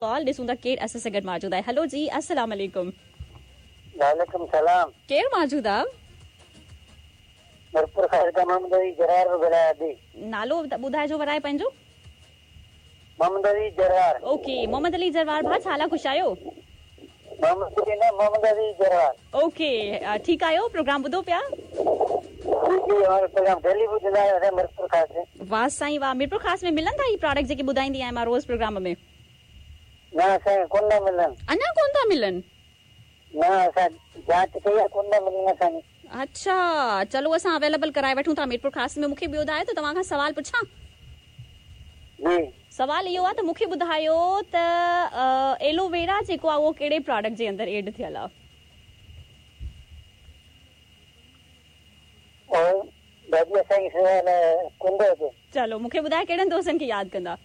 Call ॾिसूं था केरु असां सां गॾु मौजूदु आहे। हलो जी, अस्सलाम वालेकुम। वालेकुम सलाम। केरु मौजूदु आहे? मीरपुर ख़ास खां मोहम्मद अली जरार ॻाल्हायां थी। नालो ॿुधाइजो वराए पंहिंजो। मोहम्मद अली जरार। ओके, मोहम्मद अली जरवार भाउ, छा लाइ ख़ुशि आहियो? मोहम्मद अली न, मोहम्मद अली जरवार। ओके, ठीकु आहियो? प्रोग्राम ॿुधो पिया? जी, प्रोग्राम डेली ॿुधंदा आहियूं असां मीरपुर ख़ास। वाह साईं वाह। मीरपुर ख़ास में मिलनि था ही प्रोडक्ट जेके ॿुधाईंदी आहियाँ मां रोज़ प्रोग्राम में? न असांखे कोन था मिलनि। अञा कोन था मिलनि? न, असां जांच कई आहे, कोन था मिलनि असांखे। अच्छा, चलो असां अवेलेबल कराए वठूं था मीरपुर ख़ास में। मूंखे ॿियो ॿुधायो त तव्हां खां सवाल पुछां? जी। सवाल इहो आहे त मूंखे ॿुधायो त एलोवेरा जेको आहे उहो कहिड़े प्रोडक्ट जे अंदरि एड थियल आहे? चलो मूंखे ॿुधायो कहिड़नि दोस्तनि खे यादि कंदा?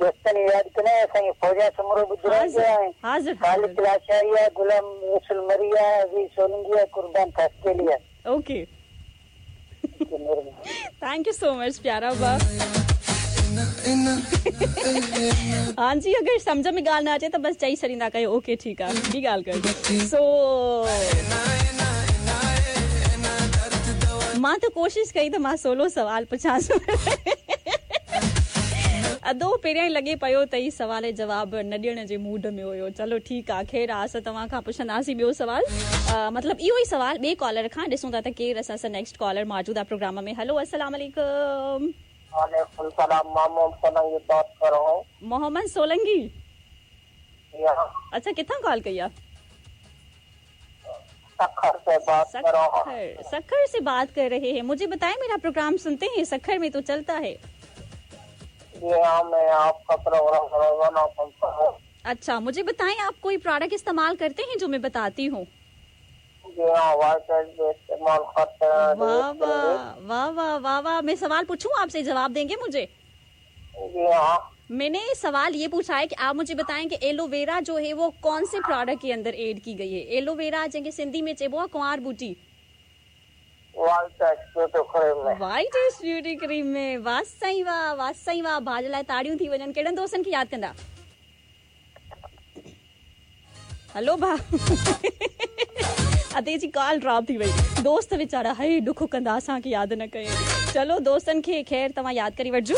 दोस्तनि यादि कंदा असांखे फौजा सुमरो ॿुधाईंदो हाज़िर खालिद लाशारी आहे, गुलाम रसूल मरी आहे, अज़ीज़ सोलंगी आहे, कुर्बान खासकेली आहे। Okay, thank you so much प्यारा बा। हाँ जी, अगरि सम्झ में ॻाल्हि न अचे त बसि चई छॾींदा कयो ओके ठीकु आहे, ॿी ॻाल्हि कर। सो मां त कोशिशि कई त मां सोलो सवाल पुछांसि, अदो पहिरियां ई लॻे पियो त ही सवाल जवाब न ॾियण जे मूड में हुयो। चलो ठीकु आहे, ख़ैर आहे, असां तव्हां खां पुछंदासीं ॿियो सवाल, मतिलबु इहो ई सवाल ॿिए कॉलर खां। ॾिसूं था त केरु असां सां नेक्स्ट कॉलर मौजूदु आहे प्रोग्राम में। हलो, अस्सलाम वालेकुम। वालेकुम सलाम, मोहम्मद सोलंगी बात कर रहा हूं। मोहम्मद सोलंगी? अच्छा, किथां कॉल कई आहे? सखर से बात कर रहा हूं। सखर से बात कर रहे हैं। मुझे बताएं, मेरा प्रोग्राम सुनते हैं? सखर में तो चलता है। जी हाँ, मैं आपका प्रोग्राम रोजाना सुनता हूँ। अच्छा, मुझे बताएं, आप कोई प्रोडक्ट इस्तेमाल करते हैं जो मैं बताती हूँ? जी हाँ, वाइट इस्तेमाल करते हैं। वाह वाह वाह वाह वाह वाह। मैं सवाल पूछूं आपसे, जवाब देंगे मुझे? जी हाँ। मैंने सवाल ये पूछा है कि आप मुझे बताएं कि एलोवेरा जो है वो कौन से प्रोडक्ट के अंदर एड की गई है? एलोवेरा जंहिंखे सिंधी में चइबो आहे कुंवार बूटी। वाइट ब्यूटी क्रीम में। वाइट ब्यूटी क्रीम में। वाह साईं वाह, वाह साईं वाह। भाउ जे लाइ ताड़ियूं थी वञनि। कहिड़नि दोस्तनि खे यादि कंदा? हलो भाउ, अदे जी कॉल ड्रॉप थी वई। दोस्त वीचारा हे ॾुख कंदा असांखे यादि न कयईं। चलो दोस्तनि खे ख़ैर तव्हां यादि करे वठिजो।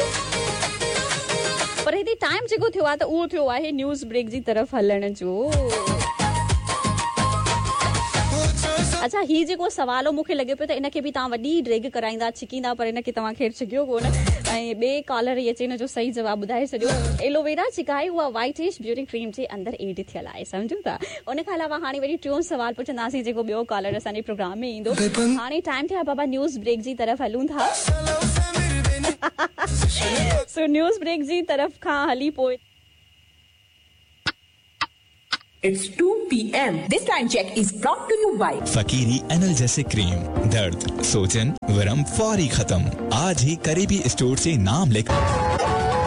पर हिते टाइम जेको थियो आहे त उहो थियो आहे न्यूज़ ब्रेक जी तरफ़ हलण जो। अच्छा, ही जेको सवाल हो मूंखे लॻे पियो त इनखे बि तव्हां वॾी ड्रेग कराईंदा छिकींदा, पर इनखे तव्हां ख़ैर छिकियो कोन ऐं ॿिए कॉलर ई अचे हिन जो सही जवाबु ॿुधाए छॾियो। एलोवेरा जेका आहे उहा वाइटिश ब्यूटी क्रीम जे अंदरि एड थियल आहे, सम्झूं था। उन खां अलावा हाणे वरी टियों सवाल पुछंदासीं जेको ॿियो कॉलर असांजे प्रोग्राम में ईंदो। हाणे टाइम थियो आहे बाबा न्यूज़ ब्रेक जी तरफ़ हलूं था। सो न्यूज़ ब्रेक जी तरफ़ खां हली पोइ It's 2 p.m. This time check is brought to you by Fakiri analgesic cream. दर्द, सोजन, वरम फौरी खत्म। आज ही करीबी स्टोर से नाम लिख